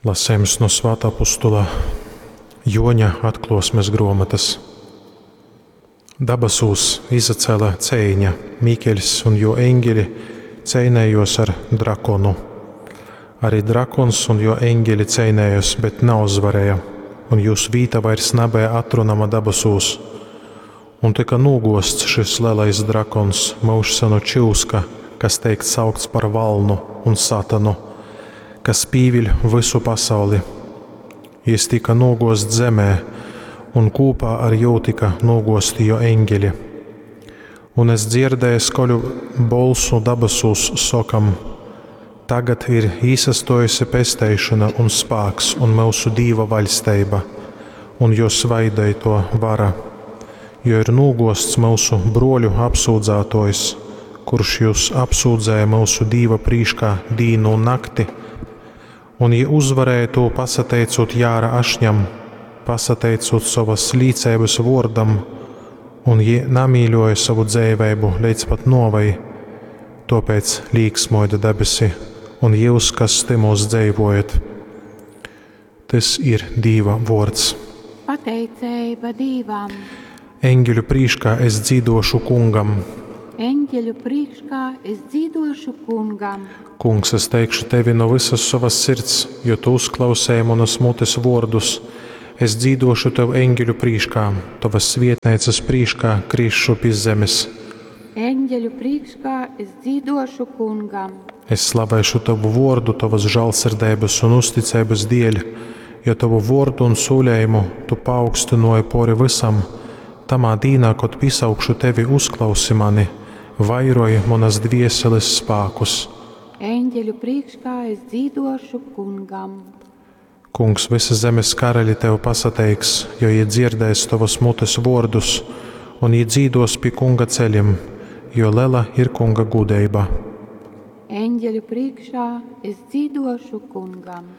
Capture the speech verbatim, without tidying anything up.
Lasējums no Svātā apostula Joņa atklosmes gruomotas. Dabasūs izacēla ceiņa, Mikeļs un jo eņģeļi ceinējos ar drakonu. Arī drakons un jo eņģeļi ceinējos, bet nauzvarēja, un jūs vīta vairs nabeja atrunama dabasūs. Un tika nūgosts šis lielais drakons, myužsenu čyuska, kas teik saukts par valnu un satanu, kas pīviļ visu pasauli. Jis tika nūgosts zemē, un kūpā ar jū tika nūgosti jo eņģeļi. Un es dzirdēju skaļu bolsu dabasūs sokam: Tagad ir īsastojusi pesteišona un spāks un myusu Dīva vaļsteiba un jo svaideito vara, jo ir nūgosts myusu bruoļu apsūdzātojs, kurš jūs apsūdzēja myusu Dīva prīškā dīnu un nakti, un jī uzvarēja tū pasateicūt Jāra ašņam, pasateicūt sovas līceibas vōrdam, un jī namīļoja sovu dzeiveibu leidz pat nuovei. Tōpēc līksmoja debesi un jūs, kas tymūs dzeivojat. Tys ir Dīva vōrds. Pateiceiba Dīvam. Eņģeļu prīškā es dzīdošu kungam. Eņģeļu prīškā es dzīdošu kungam. Kungs, es teikšu tevi no visas savas sirds, jo tu uzklausēji manas mutes vōrdus. Es dzīdošu tev eņģeļu prīškā, tovas svietneicas prīškā krišu pi zemes. Eņģeļu prīškā es dzīdošu kungam. Es slavēšu tavu vōrdu, tavas žālsirdeibas un uzticeibas dēļ, jo tavu vōrdu un sūlējumu tu paaugstināji pori visam. Tamā dīnā, kad piesaukšu tevi, uzklausi mani, vairoji manas dvieseles spākus. Eņģeļu prīškā es dzīdošu kungam. Kungs, visa zemes karaļi tev pasateiks, jo jie dzirdēs tavas mutes vōrdus, un jie dzīdos pi kunga ceļiem, jo lela ir kunga gudeiba. Eņģeļu priekšā es dzīdošu kungam.